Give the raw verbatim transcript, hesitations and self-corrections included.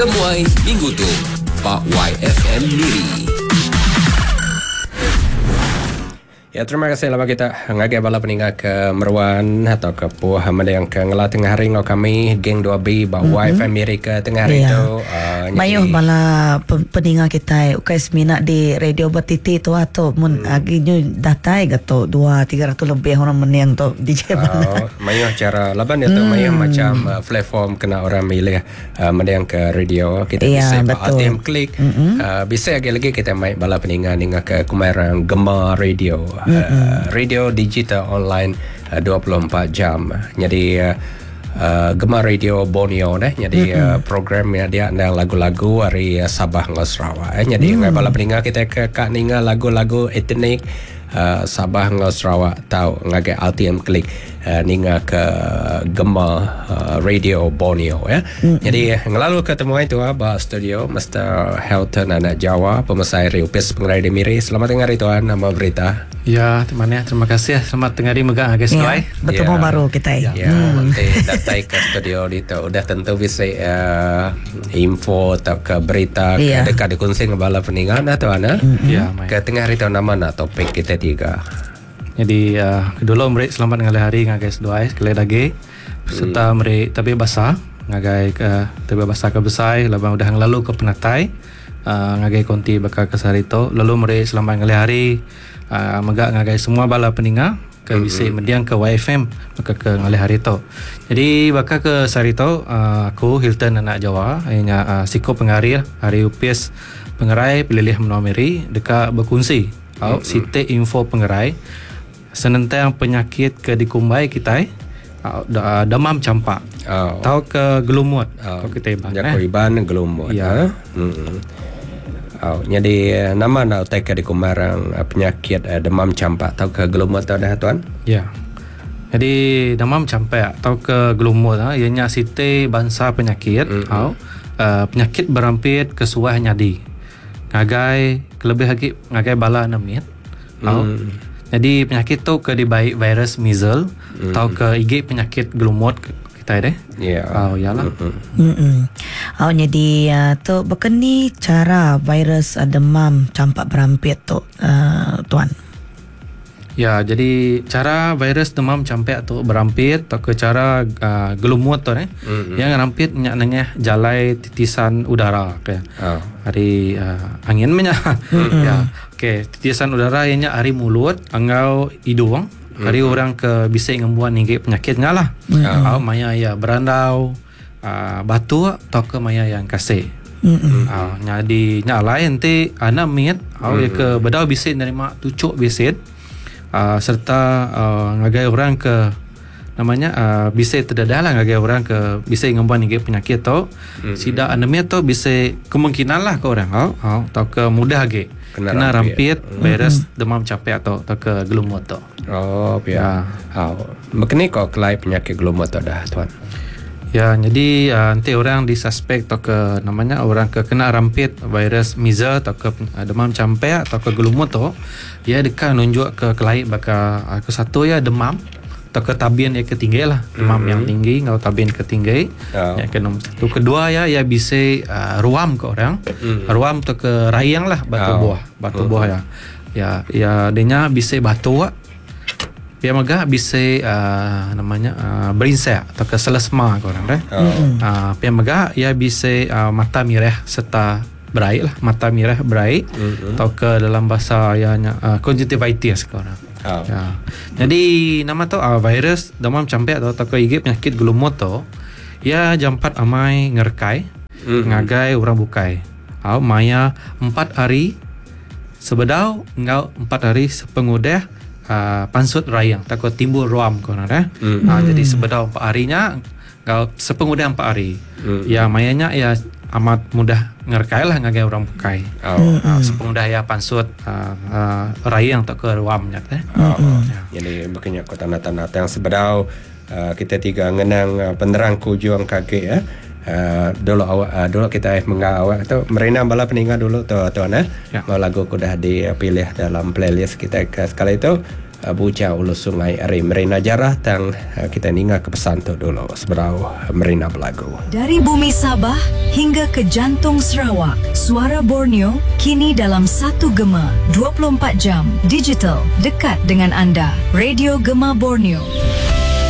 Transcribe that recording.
Temuai minggu tu ba Y F M Miri. Ya, terima kasih lama kita ngagai bala peninga ke meruan atau ke puh yang ke ngelah tengah hari ngau kami geng dua B ba mm-hmm. Y F M Miri ke tengah hari Ya. tu. Uh, Mayuh bala pe- peninga kita ukai semina di radio bertiti tu atau mun hmm. agi nyu datai ga tu dua tiga ratus lebih orang meniang tu D J mana. Oh, mayuh cara laban itu hmm. mayuh macam uh, platform kena orang milih uh, mendiang ke radio kita Ya, bisa betul. A T M klik mm-hmm. uh, bisa lagi lagi kita mai bala peninga ninga ke kumarang Gema Radio mm-hmm. uh, radio digital online uh, dua puluh empat jam. Jadi uh, Uh, Gema Radio Borneo deh, jadi mm-hmm. uh, program ya dia ada lagu-lagu hari uh, Sabah ngau Sarawak eh. Jadi mm. bala peninga kita ke kak ninga lagu-lagu etnik uh, Sabah ngau Sarawak tau ngagai R T M klik uh, ninga ke Gema uh, Radio Borneo ya. Mm-hmm. Jadi ngelalu ketemu itu ah ba studio Mister Helton Anak Jawa, pemesai Riupis Pengerai di Miri. Selamat tengah hari tuan, nama berita. Ya, teman ya. Terima kasih ya. Selamat tengah hari mega guys. Ya, Ya. bertemu Ya. baru kita. Ya, hmm. Nanti datai ke studio itu udah tentu bisa uh, info atau ke berita ke Ya. dekat dikongsi dengan bala peningan nah tuan ah. Ya, mai. Ke tengah hari tu nama nak topik kita tiga. Jadi uh, dulu meri selamat ngalih hari ngagai seduai sekali lagi. Serta hmm. meri tabi basa ngagai ke tabi basa ke besai laban udah ngelalu ke penatai uh, ngagai konti bakal ke sehari tu. Lalu meri selamat ngalih hari uh, mega ngagai semua bala peninga ke bisi mm-hmm. mendiang ke Y F M maka ke ngalih hari tu. Jadi bakal ke sehari tu uh, aku Hilton Anak Jawa ianya uh, siko pengari hari U P S Pengerai Pelilih Menua Miri dekat berkongsi au mm-hmm. siti info pengerai senentang penyakit ke dikumbai kita uh, da- demam campak Oh. atau ke gelumut Oh. oh. kita iban. Jako eh. iban gelumut. Ya. Ha? Hmm. Oh, jadi eh, nama nak utai ke dikumarang eh, penyakit eh, demam campak atau ke gelumut tu dah tuan? Ya. Jadi demam campak atau ke gelumut ha, ianya siti bangsa penyakit mm-hmm. au uh, penyakit berampit ke suah nyadi. Ngagai kelebih lagi ngagai bala nemit. Au. Mm. Jadi penyakit tu ke dibaik virus measles mm. atau ke I G penyakit gelumut kita deh. Ya. Oh, iyalah. Mm-mm. Hmm. Oh, jadi uh, tu bekeni cara virus uh, demam campak berampit tu uh, tuan? Ya, jadi cara virus demam campak tu berampit atau ke cara uh, gelumut tu eh. Mm-hmm. Yang rampit nyak nengah jalai titisan udara ke. Oh. Hari uh, angin menya. Mm-hmm. Ya. Okey, titisan udara ianya hari mulut angau hidung. Hari mm-hmm. orang ke bisa ngembuan ninggi penyakitnya lah. Mm-hmm. Oh, maya ya berandau uh, batu atau ke maya yang kasih. Hmm. Ah, nyadi nya lain nanti anak mit au mm-hmm. ke bedau bisit nerima tucuk bisit uh, serta uh, ngagai orang ke namanya uh, bisa terdedah lah ngagai orang ke bisa ngembuan ninggi penyakit tu mm-hmm. sida anemia tu bisa kemungkinan lah ke orang au au atau ke mudah lagi Kena kena, rampit. rampit, virus demam capek atau atau ke gelumut tu. Oh, ya. Oh. Begini kok kelai penyakit gelumut tu dah tuan? Ya, jadi uh, nanti orang disuspek atau ke namanya orang ke kena rampit virus measles atau ke uh, demam campak atau ke gelumut tu, dia dekat nunjuk ke kelai baka uh, ke satu ya demam atau ke tabian yang ketinggi lah, demam mm-hmm. yang tinggi ngau tabian ketinggi. Oh. Yang ke nombor satu, kedua ya ya bisa uh, ruam ke orang, mm-hmm. ruam atau ke rayang lah batu Oh. buah, batu mm-hmm. buah ya. Ya, ya dia bisa batu. Dia mega bisa uh, namanya uh, berinsek atau ke selesma ke orang deh. Oh. Uh, pia mega ia bisa uh, mata mirah serta beraik lah, mata mirah beraik mm-hmm. atau ke dalam bahasa ianya uh, conjunctivitis ke orang. Oh. Ya. Jadi nama tu uh, virus demam campak atau, atau ke I G penyakit gelumut tu ya jampat amai ngerkai mm-hmm. ngagai orang bukai. Au maya empat hari sebedau ngau empat hari sepengudah uh, pansut rayang takut timbul ruam kau nak eh. Mm. Uh, jadi sebedau empat harinya ngau sepengudah empat hari. Mm. Ya mayanya ya amat mudah ngerkai lah ngagai orang bukai. Oh. Uh, sepengudah ya pansut uh, uh, rayang tak ke ruamnya eh. Oh. Jadi makanya kau tanda-tanda yang sebedau uh, kita tiga ngenang uh, penerang kujuang kaki ya. Uh, dulu awak uh, dulu kita eh menga awak tu merina bala peninga dulu tu tuan eh. Ya. Mau lagu ku dah dipilih dalam playlist kita ke sekali itu. uh, Bujang Ulu Sungai ari Marina Jarah tang uh, kita ninga ke pesan tu dulu seberau Marina belagu. Dari bumi Sabah hingga ke jantung Sarawak, suara Borneo kini dalam satu gema dua puluh empat jam digital dekat dengan anda. Radio Gema Borneo.